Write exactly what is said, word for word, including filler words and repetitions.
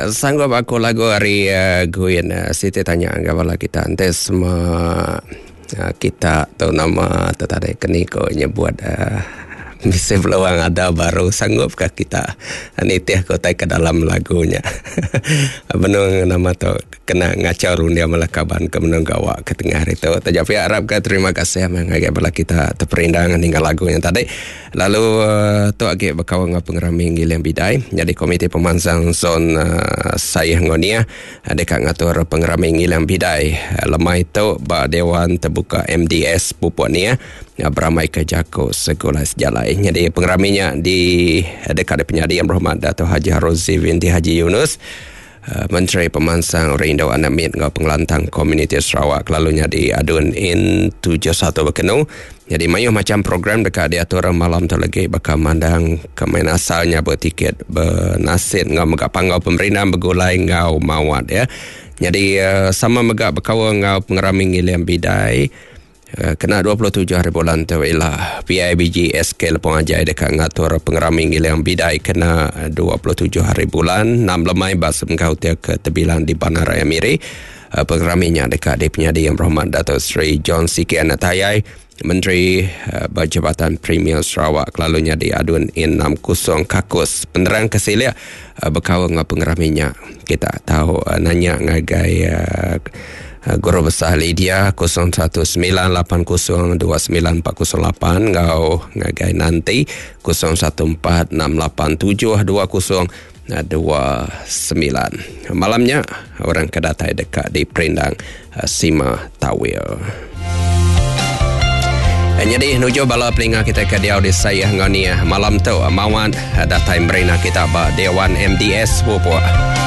Sanggup aku lagu ari uh, Guin. uh, Siti tanya enggau bala kita enti semua uh, kita tu nama tu tadi keni ko nyebut uh, bisi peluang ada baru, sanggup kah kita nitih ke utai ke dalam lagunya? Benung nama tu kena ngacau rundia malah kaban ke menung gawa ke tengah hari tu. Taja pia, harap ke terima kasih ngagai bala kita terperindang ninggal lagu yang tadi. Lalu uh, tu agi bekau ngau pengerami Ngiling Bidai. Jadi Komiti Pemansang Zon uh, Sayah Ngonia uh, dekat ngatur pengerami Ngiling Bidai uh, lemai tu ba Dewan Terbuka M D S Pupuk Nia uh, beramai ke Jako Sekolah Sejalai. Jadi pengeraminya di dekat penyadi Yang Berhormat Dato' Haji Harozi binti Haji Yunus, Uh, Menteri Pemansang Rindu Anak Mit ngau Pengelantang Komuniti Sarawak, lalunya di Adun In tujuh puluh satu Bekenu. Jadi mayuh macam program dekat diatur malam tu lagi, bakal mandang kemain asalnya, bertiket bernasid ngau megak panggau pemerintah bergulai ngau mawat ya. Jadi uh, sama megak berkawal ngau pengerami Ngiling Bidai. Eh, kena dua puluh tujuh hari bulan tu ialah P I B G S K Lepong Ajai dekat ngatur pengerami Ngiling Bidai kena dua puluh tujuh hari bulan enam lemai bas engkau ke tebilan di Bandaraya Miri. Uh, pengeraminya dekat di penyadi Yang Berhormat Dato' Sri John Sikie Anak Tayai, Menteri uh, Berjabatan Premier Sarawak, lalunya di Adun In enam puluh Kakus. Penerang kesilia uh, berkawal dengan pengeraminya kita tahu uh, nanya ngagai uh, Guru Besar Lydia kosong satu sembilan lapan kosong dua sembilan empat kosong lapan ngau ngagai nanti kosong satu empat enam lapan tujuh dua kosong dua sembilan. Malamnya orang kedatai dekat di Perindang uh, Sima Tawil. Jadi nuju bala pelinga kita ke dia di saya ngania malam tu mawat datai merina kita ba Dewan M D S Pupuk.